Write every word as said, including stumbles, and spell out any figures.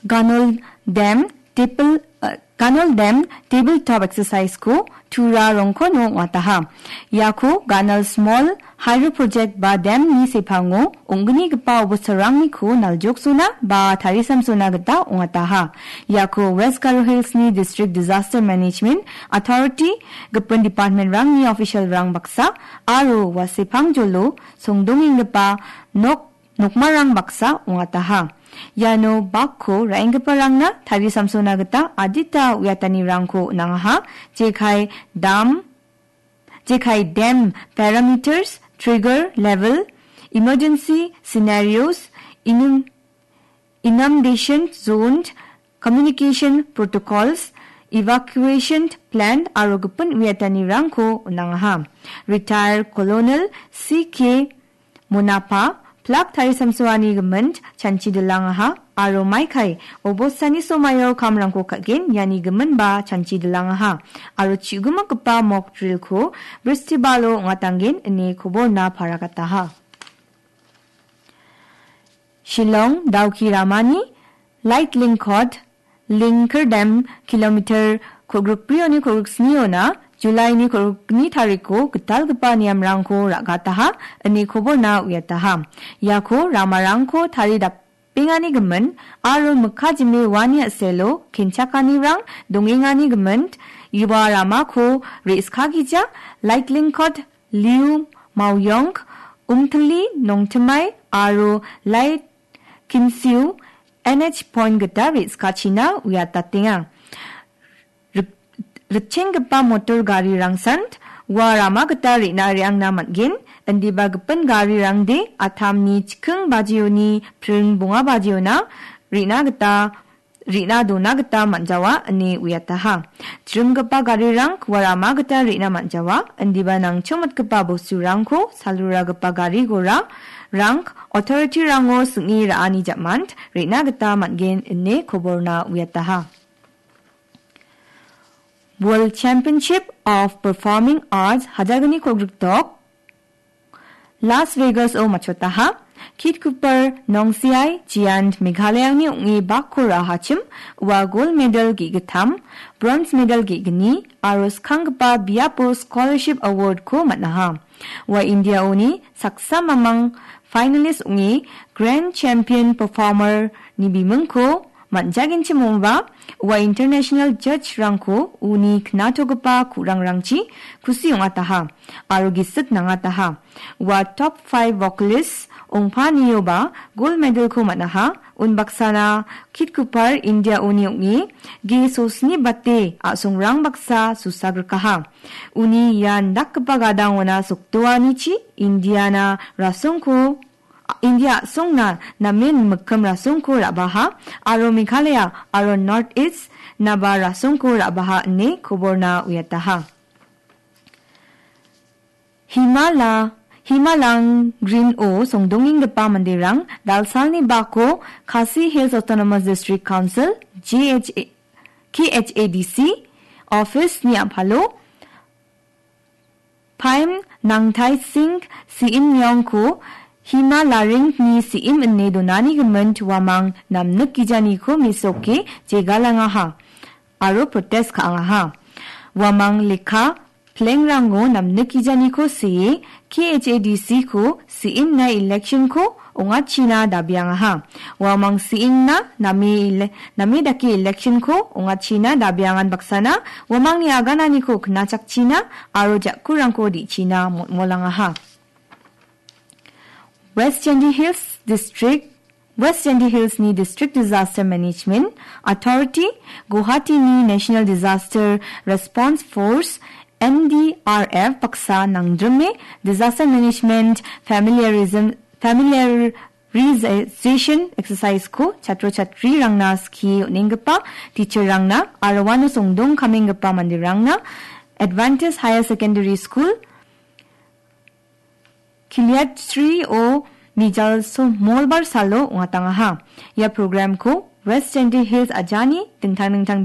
Ganol Dam Table, uh, Ganol Dam Tabletop Exercise-ko Tura rongkono ong·ataha. Iako Ganol Small Hydro Project ba dam-ni sepango ong·gnigipa obostorangniko naljoksona ba tarisamsona gita ong·ataha. Iako West Garo Hills-ni District Disaster Management Authority gipin department-rangni official-rang baksa aro ua sepangjolo songdongenggipa nok nokmarang baksa ong·ataha. Iano bakko ra·enggiparangna tarisamsona gita adita uiatanirangko on·angaha, jekai dam, jekai dam parameters, trigger level, emergency scenarios, inun-, inundation zone, communication protocols, evacuation plan aro gipin uiatanirangko on·angaha. Retired Colonel C K Monapa, plak tarisamsoani gimint chanchi dilangaha aro maikai obostani somaio kamrangko ka·gen iani giminba chanchi dilangaha aro chu·gimikgipa mock drill-ko Bristibalo ong·atanggen ine koborna paragataha. Shillong, Dawki ramani Light Link Code, Lingkerdam kilometer kolgrikbrioni kolgriksniona Julaini kolgrikni tariko gitalgipa niamrangko ra·gataha, ine koborna uiataha. Iako ramarangko taridapenganigimin aro mikka jime uani a·selo kenchakanirang dongenganigimin ua ramako re·skagija Light Link Code Liu Maoyong, Umtili Nongtimai aro Light Kimsiu N H point gita re·skachina uiatatenga. Rik-, rikchenggipa motor garirangsan ua rama gita re·na re·angna man·gen, indiba gipin garirangde atamni chiking bajioni pring bonga bajiona re·na gita re·na dona gita man·jawa ine uiataha. Jringgipa garirang ua rama gita re·na man·jawa, indiba nangchomatgipa bosturangko saluragipa gari gora rang authority-rango sing·e ra·ani jamant re·na gita man·gen ine koborna uiataha. World Championship of Performing Arts hajalgni kolgrikdok Las Vegas-o matchotaha. Kit Cooper, Nongsiai, Jiant, Meghalayani ong·e bakko ra·ahachim, ua gold medal ge·gittam, bronze medal ge·gni, aro skanggipa biapo scholarship award-ko man·aha. Ua India-oni saksa mamang finalist ong·e grand champion performer-ni bimingko man·jagenchim ong·ba, ua international judge-rangko uni knatogipa ku·rangrangchi kusi ong·ataha aro gisik nangataha. Ua top five vocalist ong·panioba gold medal-ko man·aha. Unbaksana Kit Cooper India-oni ong·e G sosni bate a·songrang baksa susagrikaha. Uni ia indakgipa gadangona sokdoanichi Indiana rasongko India a·songna namen mikkim rasongko ra·baha aro Meghalaya aro North East naba rasongko ra·baha ine koborna uiataha. Himala, Himalang Green-o songdongenggipa manderang dalsalni bako Khasi Hills Autonomous District Council, G H A, K H A D C, office-ni a·palo Paim Nangtai Singh C M-yongko Hima Laringni C M ine donani gimint uamang namnik gijaniko mesoke jegalangaha aro protest ka·angaha. Uamang lekka plengrango namnik gijaniko see K H A D C-ko C M-na election-ko ong·achina dabiangaha. Uamang C M-na name ele-, name dake election-ko ong·achina dabiangan baksana uamangni agananiko knachakchina aro jakkurangko di·china motmolangaha. West Jaintia Hills District, West Jaintia Hills-ni District Disaster Management Authority, Guwahati-ni National Disaster Response Force, N D R F baksa nangdrime Disaster Management Familiarism, Familiarization Exercise-ko chatro chatrirangna skie on·enggipa teacher-rangna aro uano songdong kamenggipa manderangna Adventist Higher Secondary School, Kiliatri-o mijal so-, molbar salo ong·atangaha. Ia program-ko West Jaintia Hills ajani dingtang dingtang